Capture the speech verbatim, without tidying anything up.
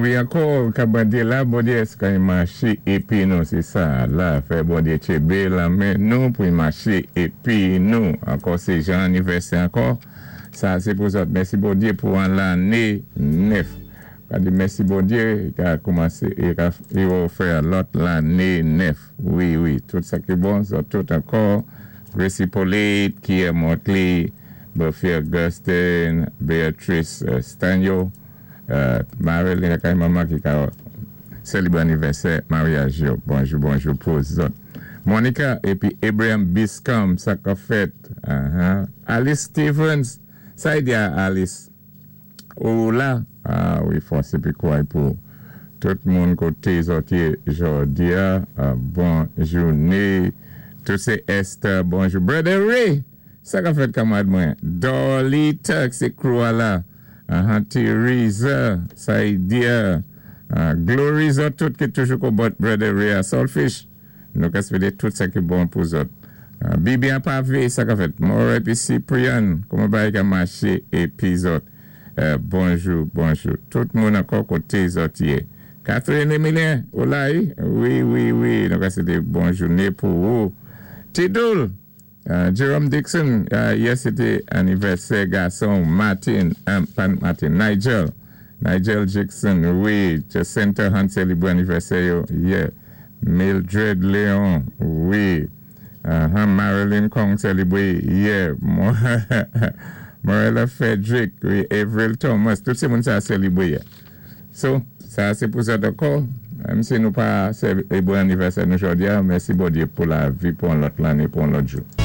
Wi, ankò, ka Bondyé la, Bondyé èska i maché épi nou, sé sa, la, fè Bondyé tjenbé lanmen nou pou i maché épi nou. Ankò, sé jan anivèsè ankò. Sa, sé pou zòt. Mèsi Bondyé pou an lanné nèf. Ka di mèsi Bondyé, i ka koumansé, i ka, i fè lòt lanné nèf. Wi, wi, tout sa ki bon, zòt tout ankò. Gracie Polite, Kia Motley, Buffy Augustine, Beatrice uh, Stanyo, uh, Marilyn akay manman ki ka sélébwé anivèsè maryaj yo. Bonjou, bonjou pou zòt. Monica épi Abraham Biscom, sa ka fèt. Uh-huh. Alice Stevens, sa i di a Alice. Ou la, ah wi, fòs épi kouway pou tout moun koté zòt yé jòdi a, uh, bon jouné. Tout sé Esther, bonjou. Brother Ray, sa ka fèt kanmad mwen. Dolly Tuck, sé crew a la. Uh-huh, Teresa, Saidia, uh, Glory zòt tout ki toujou ko bòt Brother Ray a Saltfish. Nou ka swété tout sa ki bon pou zòt. Uh, Bibi an pavé, sa ka fèt. Mora épi Cyprian, kouman bagay ka maché épi zòt. Uh, bonjou, bonjou. Tout moun ankò koté zòt yé. Catherine Emilien, ou la yi? Wi, wi, wi. Nou ka swété bon jouné pou ou. Tidoul, uh, Jerome Dixon, uh, yè sé té anivèsè gason Martin, um, pa Martin, Nigel. Nigel Jackson, wi. Jacinta Hunt sélébwé anivèsè yo, yeah. Mildred Leon, wi. Uh-huh, Marilyn Kong sélébwé, yeah. Morella Frederick, wi. Avril Thomas, tout sé moun sa sélébwé, yeah. So, sa sé pou sa dakò. Menm si nou pa sélébwé anivèsè nou jòdi a, mèsi Bondyé pou lavi pou an lòt lanné, pou an lòt jou.